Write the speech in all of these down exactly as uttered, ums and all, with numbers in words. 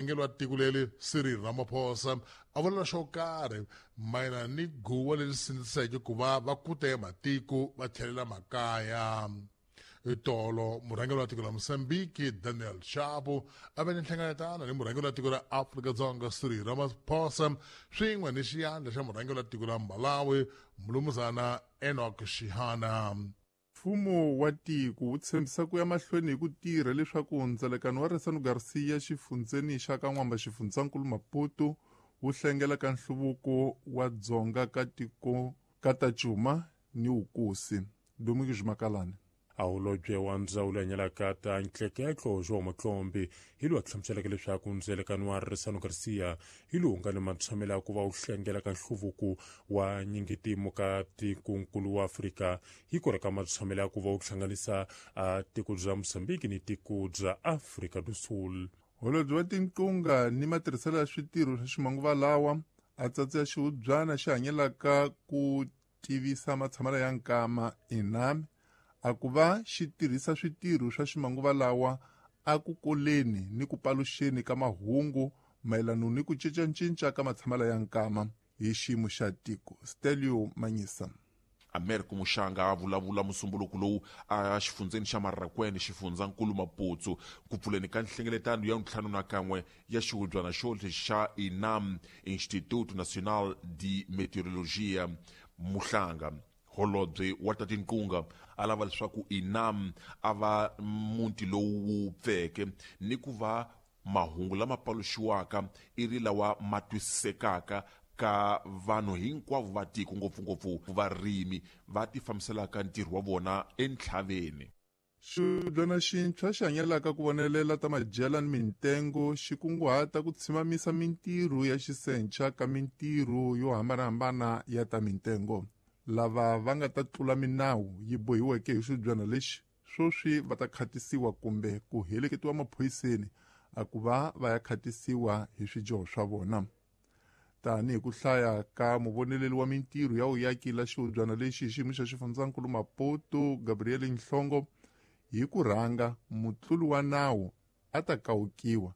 Murhangeri wa tiko leri Cyril Ramaphosa a vula xo karhi mayelana ni guwa leri sindziseke ku va va kuta matiko va tlhelela makaya. Tolo murhangeri wa tiko la Mozambique Daniel Chapo a ve ni nhlengeletano ni murhangeri wa tiko ra Afrika-Dzonga Cyril Ramaphosa swin'we ni xiyandla xa murhangeri wa tiko la Malawi Mulumuzana Enoch Chihana. Mfumo wa tiko wu tshembisa ku ya mahlweni hi ku tirha leswaku ndzelekano wa Resano Garcia xifundzeni xa ka N'wamba xifundzankulu Maputo wu hlengela ka nhluvuko wa dzonga ka tiko ka ta Cuma ni Wukusi. Domingos Makalane. A holobye wa ndzawulo ya nyalaka ta ntleketlo João Matlombe hi lowu a hlamuseleke leswaku ndzelekano wa Resano Garcia hi lowu nga ni matshamelo ya ku va wu hlengela ka nhluvuko wa nyingitimo ka tikonkulu wa Afrika hi kora ka matshamelo ya ku va wu hlanganisa a tiko bya Mozambique ni tiko bya Afrika do Sul. Holobye wa tinqunga ni matirhiselo ya switirho swa ximanguva lawa a tsatsa ya xihubyana xi hanyelaka ku tivisa matshamelo ya nkama inami a ku va xi tirhisa switirho swa ximanguva lawa a ku koleni ni ku paluxeni ka mahungu mayelana ni ku cincacinca ka matshamelo ya nkama hi xiyimo xa tiko. Stelio Manyisa. Americo Muxanga a vulavula musumbuluko lowu a xifundzeni xa Marrakwene xifundzankulu Maputo ku pfuleni ka nhlengeletano ya ntlhanu na kan'we ya xihubyana xo xa INAM, Instituto Nacional de Meteorologia. Muhlanga holobye wa ta tinqunga a lava leswaku INAM a va muti lowu wu pfeke ni ku va mahungu lama paluxiwaka i ri lawa ma twisisekaka ka vanhu hinkwavo va tiko, ngopfungopfu varimi va ti fambiselaka ntirho wa vona entlhaveni. Xihubyana xintshwa xi hanyelaka ku vonelela ta madyela ni mintengo xi kunguhata ku tshimamisa mintirho ya xisencha ka mintirho yo hambanahambana ya ta mintengo. Lava va nga ta tlula minawu yi bohiweke hi xihubyana lexi swoswi va ta khatisiwa kumbe ku heleketiwa maphoyiseni a ku va va ya khatisiwa hi swidyoho swa vona. Tanihi ku hlaya ka muvoneleli wa mintirho ya vuyaki la xihubyana lexi hi xiyimo xa xifundzankulu Maputo Gabriel Nhlongo, hi ku rhanga mutluli wa nawu a ta kawukiwa,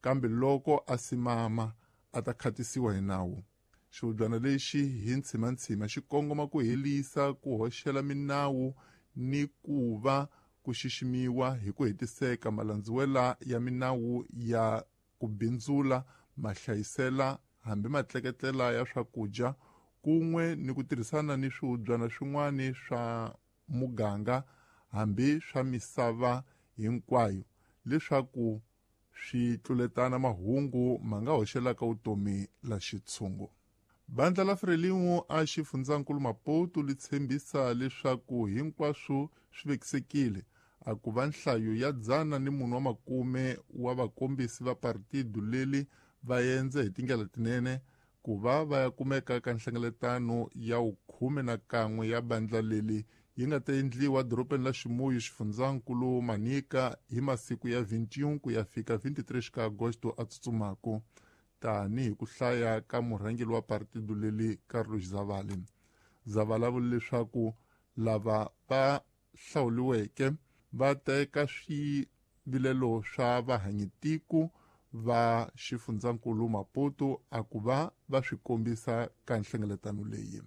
kambe loko a simama a ta khatisiwa hi nawu. Xihubyana lexi hi ntshimantshima xi kongoma ku helisa ku hoxela minawu ni ku va ku xiximiwa hi ku hetiseka malandziwela ya minawu ya ku bindzula, mahlayisela hambi matleketlela ya swakudya kun'we ni ku tirhisana ni swihubyana swin'wana swa muganga hambi swa misava hinkwayo leswaku swi tluletana mahungu ma nga hoxelaka vutomi la xitshungu. Bandla la Frelimo a xifundzankulu Maputo li tshembisa leswaku hinkwaswo swi vekisekile a ku va nhlayo ya dzana ni munhu wa makume wa vakombisi va partido leli va endze hi tindlela tinene ku va va ya kumeka ka nhlengeletano ya vukhume na kan'we ya bandla leli yi nga ta endliwa dorobeni la Ximuyu xifundzankulu Manika hi masiku ya vintiun ku ya fika vintitree ka Agosto a tsutsumaku, tanihi ku hlaya ka murhangeri wa partido leli Carlos Zavale. Zavala a vula leswaku lava va hlawuriweke va teka swivilelo swa vahanyitiko va xifundzankulu Maputo a ku va va swi kombisa ka nhlengeletano leyi.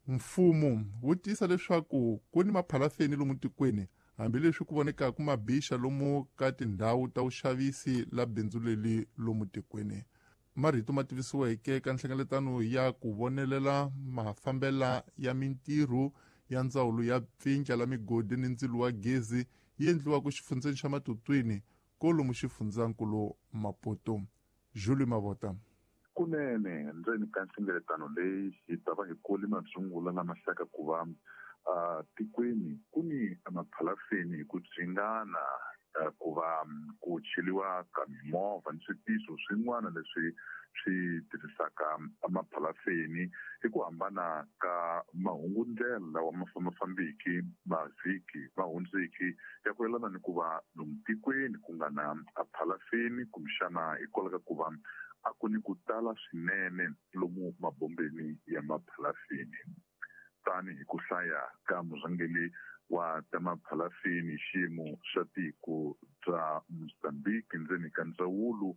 Mfumo wu tiyisa leswaku ku ni maphalafeni lomu tikweni hambileswi ku vonekaka mabixa lomu ka tindhawu ta vuxavisi la bindzu leli lomu tikweni. Marito ma tivisiweke ka nhlengeletano ya ku vonelela mafambela ya mintirho ya ndzawulo ya pfindla la migodi ni ndzilo wa gezi yi endliwaka xifundzeni xa Matutwini kolomu xifundzankulu Maputo. Julie Mavota. Kunene ndzeni ka nhlengeletano leyi hi ta va hi kole madzungula lama hlaka ku va tikweni ku ni maphalafeni hi ku dzingana ku va ku cheliwa ka mimovha ni switiso swin'wana leswi swi tirhisaka maphalafeni hi ku hambana ka mahungundlela lawa ma fambafambiki mavhiki ma hundziki ya ku yelana ni ku va lomu tikweni ku nga na phalafeni kumbexana hikwalaho ka ku va a ku ni ku tala swinene lomu mabombeni ya maphalafeni. Tanihi ku hlaya ka murhangeri wa ta maphalafeni xiyimo xa tiko bya Mozambique ndzeni ka ndzawulo